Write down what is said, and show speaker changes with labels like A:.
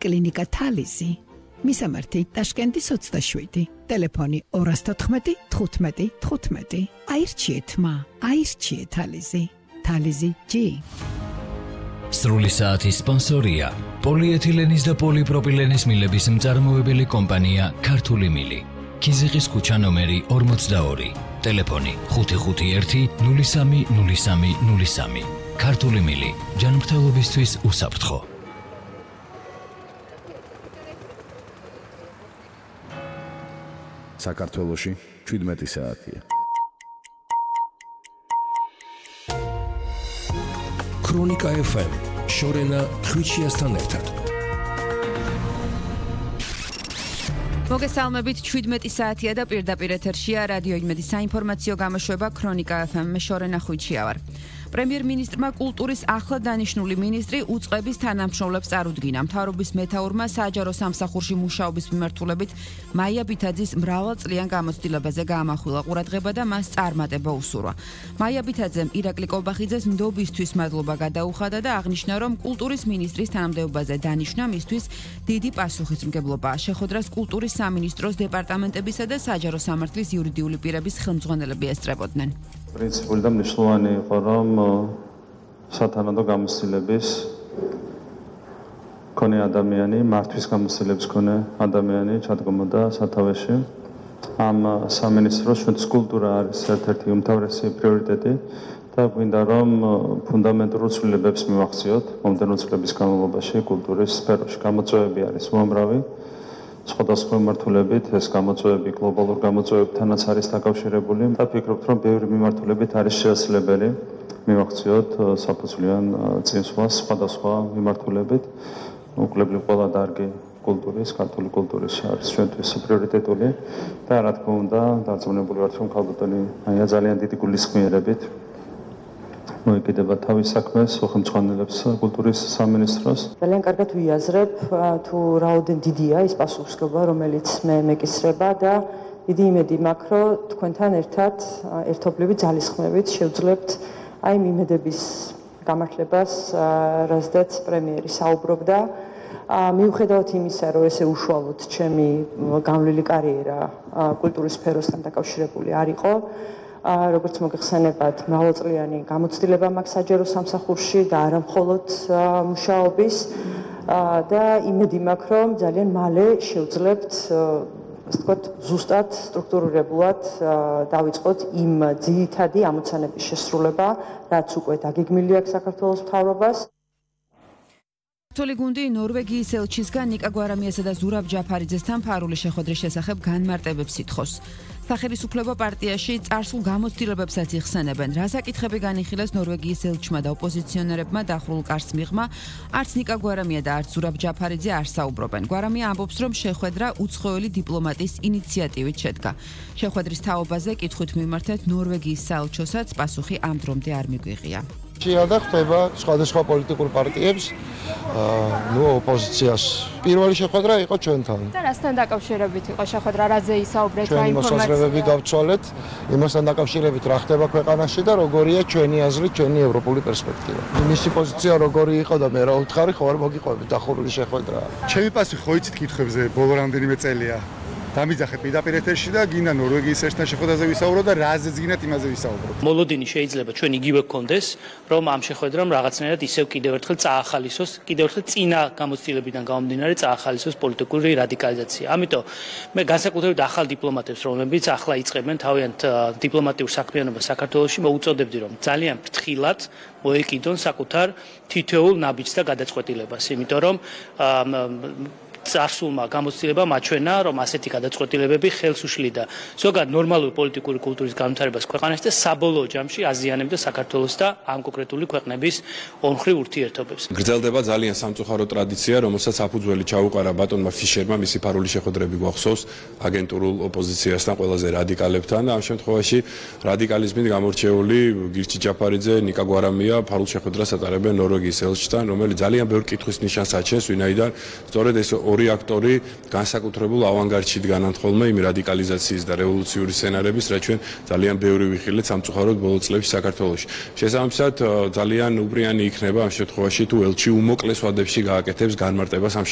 A: პოლიკლინიკა თალიზი. მისამართი ტაშკენტის 27, ტელეფონი 214 15 15. აირჩიეთ მა, აირჩიეთ თალიზი. თალიზი G.
B: სრული საათის სპონსორია პოლიეთილენის და პოლიპროპილენის მილების მწარმოებელი კომპანია ქართული მილი. ქიზიყის ქუჩა ნომერი 42, ტელეფონი 551 03 03 03. ქართული მილი, ჯანმრთელობისთვის უსაფრთხო.
C: საქართველოში 17 საათია.
D: ქრონიკა FM შორენა ხვიჩიასთან ერთად.
E: მოგესალმებით, 17 საათია და პირდაპირ ეთერშია რადიო იმედის საინფორმაციო გამოშვება ქრონიკა FM. მე შორენა ხვიჩია ვარ. პრემიერ-მინისტრმა კულტურის ახლად დანიშნული მინისტრი უწყების თანამშრომლებს წარუდგინა. მთავრობის მეთაურმა საჯარო სამსახურში მუშაობის მიმართულებით მაია ბითაძის მრავალწლიან გამოცდილებაზე გაამახვილა ყურადღება და მას წარმატება უსურვა. მაია ბითაძემ ირაკლი კობახიძეს ნდობისთვის მადლობა გადაუხადა და აღნიშნა, რომ კულტურის მინისტრის თანამდებობაზე დანიშვნა მისთვის დიდი პასუხისმგებლობაა. შეხვედრას კულტურის სამინისტროს დეპარტამენტებისა და საჯარო სამართლის იურიდიული პირების ხელმძღვანელები ესწრებოდნენ.
F: პრინციპული და მნიშვნელოვანი იყო, რომ სათანადო გამოცდილების მქონე ადამიანი, მართვის გამოცდილების მქონე ადამიანი ჩადგმოდა სათავეში. ამ სამინისტროს ჩვენთვის კულტურა არის ერთ-ერთი უმთავრესი პრიორიტეტი და გვინდა რომ ფუნდამენტურ ცვლილებებს მივახციოთ მომდევნო წლების განმავლობაში კულტურის სფეროში. გამოწვევები არის უამრავი. სხვადასხვა მიმართულებით ეს გამოწვევები გლობალურ გამოწვევებთანაც არის დაკავშირებული და ფიქრობთ, რომ ბევრი მიმართულებით არის შესაძლებელი მივახციოთ საფუძვლიან წინსვლას სხვადასხვა მიმართულებით. უკლებლივ ყველა დარგი კულტურის, ქართული კულტურის არის ჩვენთვის პრიორიტეტული და რა თქმა უნდა, დარწმუნებული ვართ, რომ ქალბატონი მაია ძალიან დიდი გულისხმიერებით მოეკიდება თავის საქმეს, ხელმძღვანელებს კულტურის სამინისტროს.
G: ძალიან კარგად ვიაზრებ, თუ რაოდენ დიდია ის პასუხისმგებლობა, რომელიც მე მეკისრება და დიდი იმედი მაქვს, რომ თქვენთან ერთად ერთობლივი ძალისხმევით შევძლებთ აი იმ იმედების გამართლებას, რაზეც პრემიერი საუბრობდა. მიუხედავად იმისა, რომ ესე უშუალოდ ჩემი გამვლელი კარიერა კულტურის სფეროსთან დაკავშირებული არ იყო, როგორც მოგეხსენებათ, მრავალწლიანი გამოცდილება მაქვს საჯარო სამსახურში და არა მხოლოდ მუშაობის და იმედი მაქვს, რომ ძალიან მალე შევძლებთ, ასე ვთქვათ, ზუსტად სტრუქტურირებულად დავიწყოთ იმ ძირითადი ამოცანების შესრულება, რაც უკვე დაგეგმილი აქვს საქართველოს მთავრობას.
E: ქართული გუნდი ნორვეგიის ელჩისგან ნიკა გვარამიასა და ზურაბ ჯაფარიძესთან ფარული შეხვედრის შესახებ განმარტებებს ითხოვს. სახელმწიფო პარტიაში წარსულ გამოცდილებებსაც იხსენებენ. რა საკითხები განიხილეს ნორვეგიის ელჩმა და ოპოზიციონერებმა დახურულ კარს მიღმა, არც ნიკა გვარამია და არც ზურაბ ჯაფარიძე არ საუბრობენ. გვარამია ამბობს, რომ შეხვედრა უცხოელი დიპლომატის ინიციატივით შედგა. შეხვედრის თაობაზე კითხვით მიმართეთ ნორვეგიის საელჩოსაც პასუხი ამ დრომდე არ მიგვიღია.
H: და ხდება სხვადასხვა პოლიტიკურ პარტიებს, ოპოზიციას. პირველი შეხვედრა იყო ჩვენთან.
I: და რასთან დაკავშირებით იყო შეხვედრა, რაზე ისაუბრეთ, რა ინფორმაცია?
H: მოსაზრებები გავცვალეთ, იმასთან დაკავშირებით რა ხდება ქვეყანაში და როგორია ჩვენი აზრი, ჩვენი ევროპული პერსპექტივა. მისი პოზიცია როგორი იყო და მე რა ვთხარი, ხო არ მოგიყვებით დახურული შეხვედრა.
J: ჩემი პასუხი ხო იცით კითხვებზე ბოლო რამდენიმე წელია. დამიძახეთ პირდაპირ ეთერში და გინდა ნორვეგიის ელჩთან შეხვედრაზე ვისაუბროთ და რაზეც გინდათ იმაზე ვისაუბროთ.
K: მოლოდინი შეიძლება ჩვენ იგივე გქონდეს, რომ ამ შეხვედრამ რაღაცნაირად ისევ კიდევ ერთხელ წაახალისოს, კიდევ ერთხელ წინა გამოცდილებიდან გამომდინარე წაახალისოს პოლიტიკური რადიკალიზაცია. ამიტომ მე განსაკუთრებით ახალ დიპლომატებს, რომლებიც ახლა იწყებენ თავიანთ დიპლომატიურ საქმიანობას საქართველოში, მოუწოდებდი, რომ ძალიან ფრთხილად მოეკიდონ საკუთარ თითოეულ ნაბიჯს და გადაწყვეტილებას, იმიტომ რომ წარსულმა გამოცდილებამ აჩვენა, რომ ასეთი გადაწყვეტილებები ხელს უშლიდა ზოგადად ნორმალური პოლიტიკური კულტურის განვითარებას ქვეყანაში და საბოლოო ჯამში აზიანებდა საქართველოს და ამ კონკრეტული ქვეყნების ორმხრივ ურთიერთობებს.
L: გრძელდება ძალიან სამწუხარო ტრადიცია, რომელსაც საფუძველი ჩაუყარა ბატონმა ფიშერმა, მისი ფარული შეხვედრები გვახსოვს აგენტურულ ოპოზიციასთან, ყველაზე რადიკალებთან და ამ შემთხვევაში რადიკალიზმით გამორჩეული გირჩი ჯაფარიძე, ნიკა გვარამია ფარულ შეხვედრას ატარებენ ნორვეგიის ელჩთან, რომელიც ძალიან ბევრ კითხვის ნიშანს აჩენს, ვინაიდან სწორედ ეს ორი აქტორი განსაკუთრებულ ავანგარდში დგანან ხოლმე იმ რადიკალიზაციის და რევოლუციური სცენარების, რაც ჩვენ ძალიან ბევრი ვიხილეთ სამწუხაროდ ბოლო წლებში საქართველოში. შესაბამისად, ძალიან უბრიანი იქნება ამ შემთხვევაში თუ ელჩი უმოკლეს ვადებში გააკეთებს განმარტებას ამ